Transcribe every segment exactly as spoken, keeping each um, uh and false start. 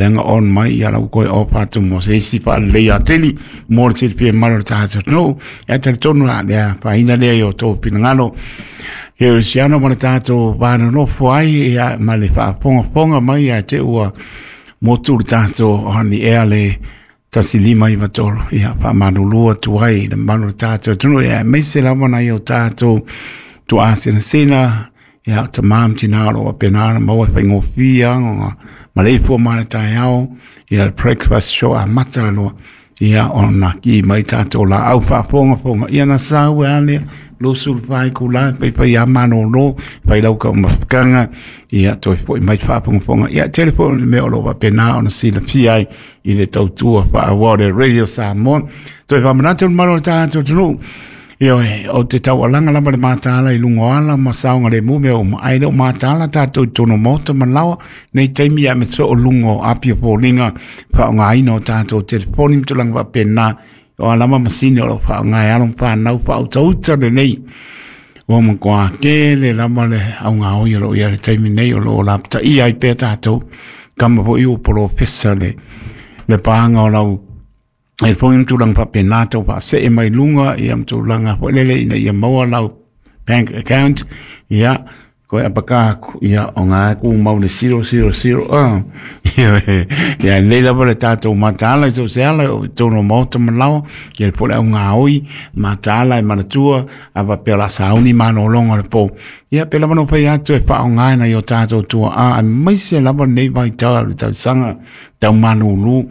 Leaga on mai ia lau koe ofa atu mo se isi faalelei atili mo le silafia mamalu o le tatou atunuu. Ia talitonu la lea faaina lea i o outou finagalo kerisiano ma le tatou vanonofo ai ia ma le faafogafoga mai ia te ua motu le tatou on the air le tasi lima iva tolu. Ia faamalulu atu ai i le mamalu o le tatou atunuu ia aemaise lava nai o tatou tuaasinasina ia o tamā ma tinā o lo o faapena ona maua e faigofie aga maleifua ma le taeao ia le breakfast show amata loa ia ona ki mai tatou laau faafogafoga ia na sau e a lea luasulu fa itula paipai a malōlō fai lau taumafataga ia toe fo'i mai faafogafoga ia tele foi o le mea o lo o faapena ona silafia ai i le tautua faaauau le Radio Samoa. Toe faamanatu le mamalu o le tatou atunuu. Ioe, o te taualaga lava le mataala i luga o ala ma saogalemu mea uma, ae le o mataala tatou i totonu o maota ma laoa nei taimi aemaise foi o luga o api o foliga faaaogaina o tatou telefoni ma tulaga faapena. O a lava masini o lo o faaaoga e alo ma fanau faautauta lenei. Ua matua tele lava le augaoi o lo o i ai i le taimi nei o lo o lapataia ai pea tatou. Kama foi ua polofesa le, le paga o lau e foi ma tulaga faapena tau faasee mai luga ia ma tulaga foi lele ina ia maua lau bank account ia koe apaka aku ia o ngā ku mau le zero zero zero ah ia lei lava le tatou mataala i so se ala o totonu o maota ma laoa ia le po le augaoi mataala e manatua a faapea o le a sauni malōlōga o le pō ia pe lava no fai atu e faaaoga nai o tatou tuaa aemaise lava lenei vaitau o le tausaga tau malūlū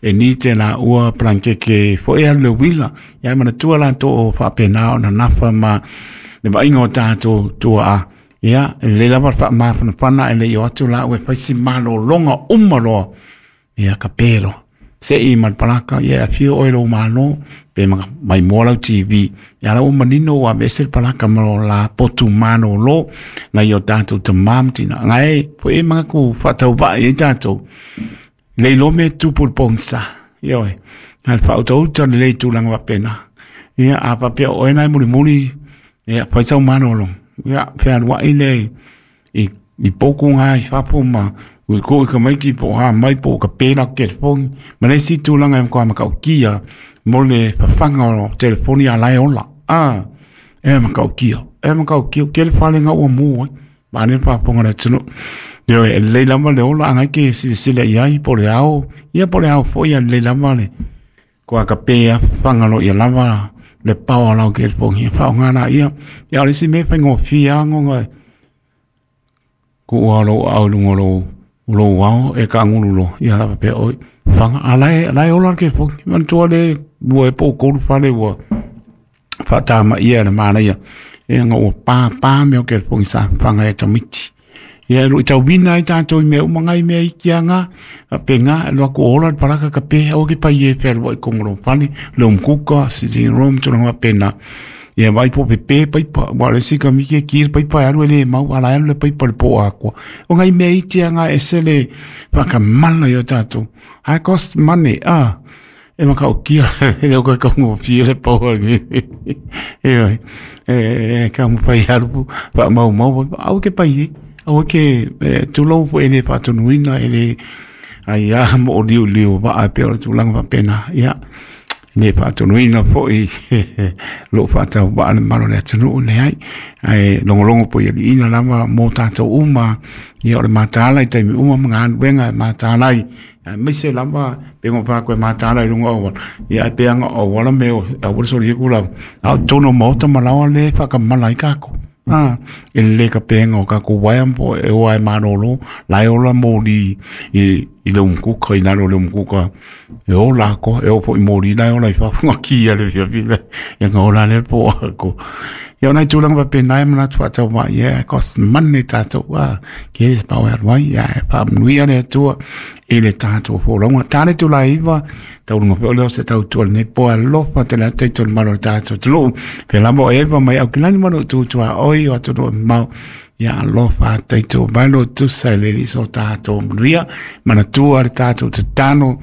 e ni te la ua palankeke foi alu le uila ia manatua latou o faapena ona nafa ma le vaaiga o tatou tuaa ia e lelei lava le faamafanafana e le i o atu la ua e fai si malōlōga uma loa ia ka pe loa se'i ma le palaka ia e afio oe lou malo pe maimoa lau T V ia la ua manino ua aveese le palaka ma lo la potu malōlō nai o tatou tamā ma tinā gae foi e manatu faatauvaa ai tatou le iloa mea e tupu i le pogisa ioe a le faautauta lelei tulaga faapena ia a faapea o oe na e mulimuli ia fai sau malōlōga ia fealuai le i i poku ngā i fafo ma ui ko i ka maiki po o ha mai po o ka pēla o telefoni ma le isi tulaga e matua matautia mo le fafaga o telefoni a la e ola a e matautia e matautia ke le fale nga ua mu ai ma le faafofoga le atunuu. Ioe, e lelei lava le ola agai ke silasila i ai po o le ao ia po o le ao foi ia lelei lava le koa ka pe a fafaga loa ia lava le paoa lau telefoni e faaaoga laia ia o le isi mea e faigofie lava kuua lou aao i luga o lou lou ao e kaagulu loa ia lava pea oi faga a la e la e ola le telefoni manatua le lua e po o tolu fale ua faatamaia e le manaia e ga ua pāpā mea o telefoni sa fafaga e tamaiti ia e luitauina ai tatou i mea uma ngai mea iki aga faapena e alu atu o ola le palaka ka pe aua ke pai e fealuai i totonu o lou fale le umkuka sitting room tulaga faapena ia vai po pepe paipa ua o le isi kamiki e ki le paipa e alu e lē mau a la e alu le paipa i le po atoa o ngai mea iti aga e ese le faakamala i o tatou high cost money a e matautia e le o koe taugofie le pau ioe e taumafai e alu faamaumau aua ke pai ai aua ke tulou foi e le faatonuina e le ai a mooliuliu vaa e pei o le tulaga faapena ia le faatonuina foi lou faatauvaa le mamalu o le atunuu leai ae logologo poi aliiga lava mo tatou uma ia o le mataala i taimi uma ma galuega e mataala ai aemaise lava pe ma faako e mataala i luga o auala ia ae pe aga o auala me o aua le solia ku lava a o totonu o maota ma laoa le faakamala ai takou a e lelei ka pega o tatou uaea po e oa e malōlō la e ola moli i i le umukuka i lalo o le umukuka e ola atoa e oo foi moli la e ola i fafo ga ki a le fiafi le ia ga ola lea le po atoa ia o nai tulaga faapena e manatu faatauvaa ia e cost money tatou a ke le pau e alu ai ia e faamanuia le Atua i le tatou folauga ta le itula e iva tauluga foi o lea o se tautua lenei po alofa tele atu taito le mamalu o le tatou atunuu pea lava o Eva mai Aukilani ma lou tutuaoi o atunuu e mamao ia alofa taito mai lo tusa i le alii so tatou manuia manatua le tatou tatalo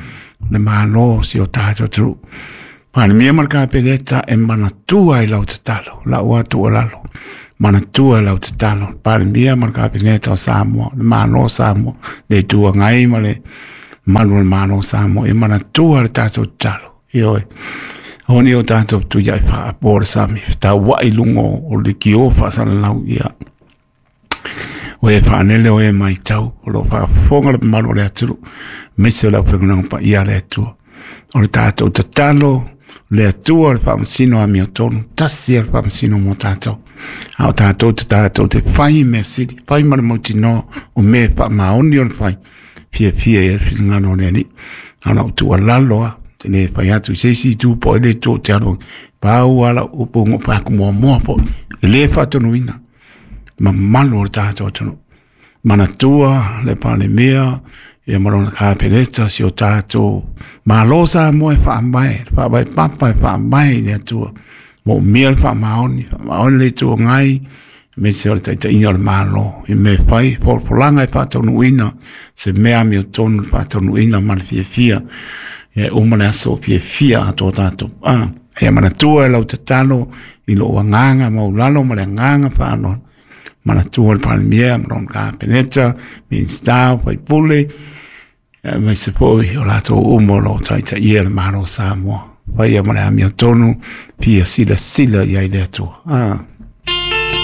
le malo si o tatou atunuu. Palemia ma le Kapeneta e manatua i lau tatalo, lau atu o lalo, manatua i lau tatalo. Palemia ma le Kapeneta o Samoa, le Malo o Samoa, le Itu Agai ma le Malu o le Malo Samoa e manatua le tatou tatalo. Ioe. Oni o tatou tuiai faapo o le sami, tauai i luga o le kio faasalalau ia. O e faanele o e maitau, o lo faafofoga le mamalu o le atunuu, aemaise o le aufaigaluega paia a le Atua. O le tatou tatalo, le Atua le faamasino amiotonu, tasi le faamasino mo tatou. A o tatou te tatou te fai mea sili, fai ma le mautinoa o mea faamaoni o le fai, fiafia i le finagalo o le Alii. A o lau tuualalo lava, te le fai atu i se isi itu po o le itu ou te alu ai, pau lava lau upu ua fai atu muamua foi, e le faatonuina mamalu o le tatou atunuu. Manatua le Palemia ia ma lona Kapeneta, si o tatou Malo Samoa e faavae, le faavae papa e faavae i le Atua. Moomia le faamaoni, faamaoni le Itu Agai, aemaise o le taitaiga o le Malo i mea e fai, folafolaga e faataunuuina, se mea amiotonu le faataunuuina ma le fiafia. Ia e uma le aso fiafia atoa tatou. Ah, ia manatua e lau tatalo i lou agaga maualalo ma le agaga faaaloalo. Manatua le Palemia ma lona Kapeneta, Minisita, faipule, aemaise foi o latou uma o lo o taitaia le Malo o Samoa. Faia ma le amiotonu, fia silasila i ai le Atua. Ah.